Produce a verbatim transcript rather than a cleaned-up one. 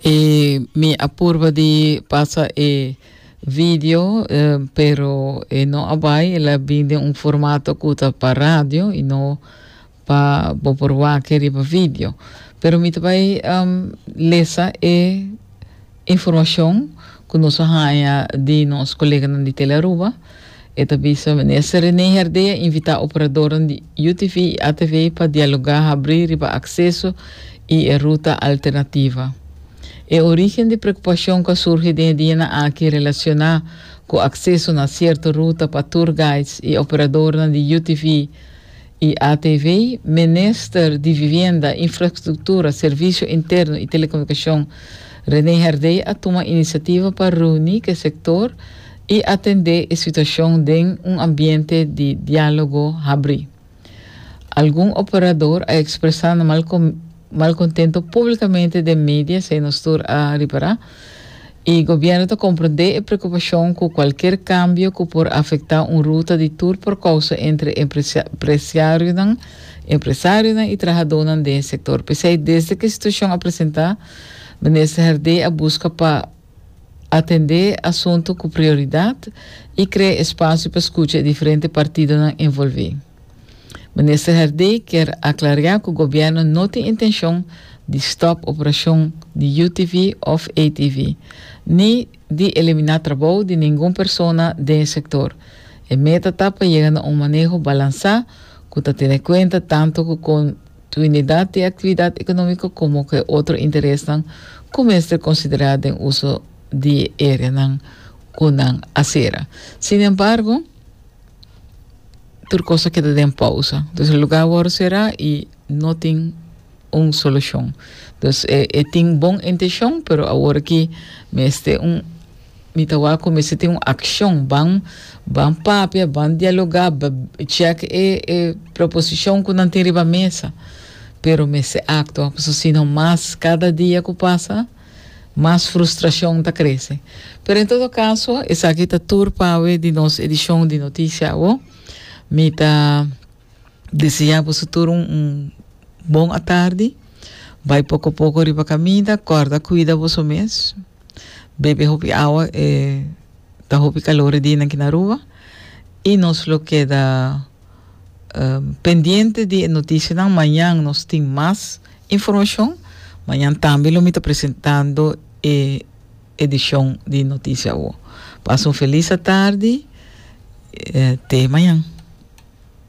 E mi a purba di pasa e video, eh, pero e no a bay, el a bin den un formato cu ta pa radio y no pa bo por wak riba video. Pero mi ta bay um, lesa e informacion cu nos a haya di nos coleganan di Telearuba. E ta bisa minister René Herdé a invita operadornan di U T V y A T V pa dialoga habri riba acceso y e ruta alternativa. E origen di preocupacion cu a surgi den e dianan aki relaciona cu acceso na cierto ruta pa tour guides y operadornan di U T V y A T V, Minister di Vivienda, Infrastructura, Servicio Interno y Telecomunicacion, René Herdé, a tuma iniciativa pa reuni cu e sector y atende e situacion den un ambiente di dialogo habri. Algun operador a expresa mal malcontento publicamente den media, esey nos tur a ripara, y gobierno ta comprende e preocupacion cu cualkier cambio cu por afecta un ruta di tour por causa entre empresario, empresario y trahador den sector. Pesey, desde cu e situacion a presenta, minister Herdé a busca pa atende asunto cu prioridad y crea espacio pa scucha diferente partidonan envolvi. Minister Herdé kier aclara cu gobierno no tin intencion di stop operacion di U T V of A T V, ni di elimina trabou di ningun persona den e sector. E meta ta pa yega na un maneho balansa cu ta tene cuenta tanto cu continuidad di actividad economico como cu otro interesnan cu mester considera den uso di areanan cu nan a cera. Sin embargo, tur cos a keda den pausa. Anto, e luga awor cera y no tin un solucion. Anto, e, e tin bon intencion, pero awor aki mester un mi ta wak mester tin un accion, ban ban papia, ban dialoga, check e, e proposicion cu nan tin riba mesa. Pero mester actua, pasobra sino mas cada dia cu pasa, mas frustracion ta crece. Pero en todo caso, esaki ta tur pa di nos edicion di Noticia Awo. Mi ta desea boso tur un, un bon atardi. Bay poco poco riba caminda, corda cuida boso mes. Bebe hopi awa, eh, ta hopi calor aki na Aruba. Y nos lo keda um, pendiente di noticia. Mañan nos tin mas informacion. Mañan tambe lo mi ta presentando e edicion di Noticia Awo. Pasa un feliz atardi. Eh, te mañan.